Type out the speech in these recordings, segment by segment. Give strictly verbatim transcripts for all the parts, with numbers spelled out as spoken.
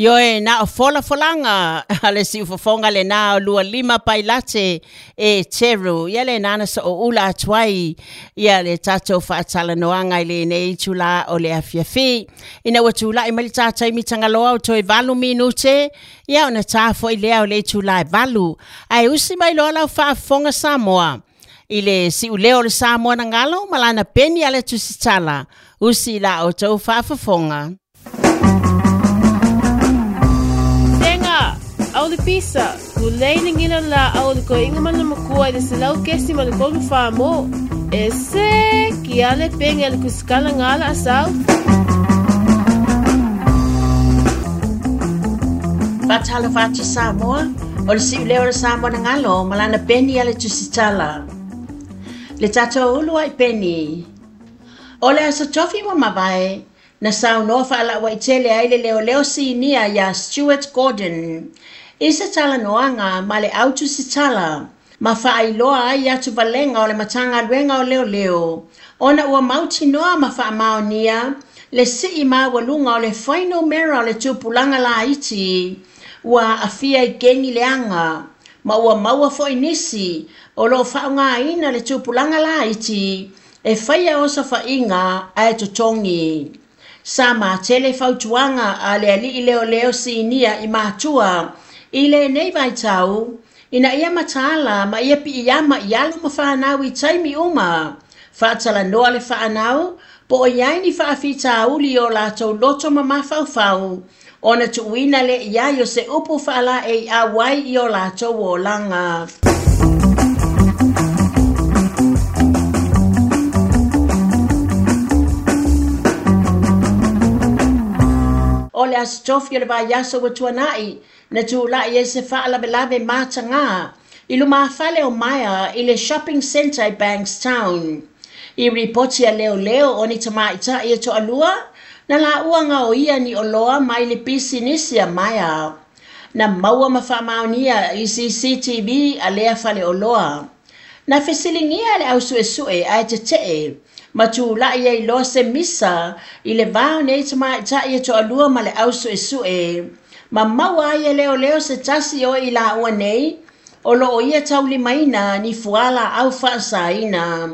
Ioe na o folafolaga a le siufofoga lenā o lua lima pailate e Teru. Ia lenā na so'oula atu ai ia le tatou faatalanoaga i lenei itulā o le afiafi. Ina ua tula'i mai le tā taimi tagaloa o toe valu minute, ia ona tā fo'i lea o le itulā e valu. Ae usi mai loa lau faafofoga Samoa i le si'uleo o le Samoa na galo ma lana peni a le tusitala. Usi la outou faafofoga. Sega, au le pisa, ku lei le ngila la au le koinga mana makua i le selau kesi ma le kolu wha mo. E se, ki ale penge le kusikala ngala asau. Faatalofa atu Samoa, o le si'uleo o le Samoa na galo ma lana peni a le tusitala. Le tatou ulu ai peni. O le aso tofi ua mavae, na saunoa faalauaitele ai le leoleo sinia iā Stuart Gordon i se talanoaga ma le autusitala ma faailoa ai atuvalega o le Matagaluega o Leoleo ona ua mautinoa ma faamaonia le sii maualuga o le fuainumera o le tupulaga laiti ua aafia i kegi leaga ma ua maua fo'i nisi o loo faaaogāina le tupulaga laiti e faia osofa'iga ae totogi. Sa matele fautuaga a le ali'i leoleo sinia i matua i lenei vaitau ina ia mataala ma ia pi'iama i alo ma fanau i taimi uma faatalanoa le faanau po o i ai ni faafitauli o latou loto ma mafaufau ona tuuina le i ai o se upu faalaeiau ai i o latou olaga. O le aso tofi o le vaiaso ua tuana'i na tula'i ai se faalavelave matagā i lumafale o Myer i le shopping centre i Bankstown. I ripoti a leoleo o ni tamaita'i e to'alua na laua gaoia ni oloa mai le pisinisi a Myer. Na maua ma faamaonia i C C T V a lea faleoloa. Na fesiligia le au su'esu'e ae tete'e ma tula'i ai loa se misa i le va o nei tamaita'i e to'alua ma le au su'esu'e. Ma maua ai e leoleo se tasi o i laua nei o loo ia taulimaina ni fuala au faasaina.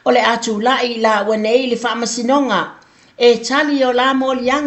O le a tula'i i laua nei i le faamasinoga e tali o la moliaga.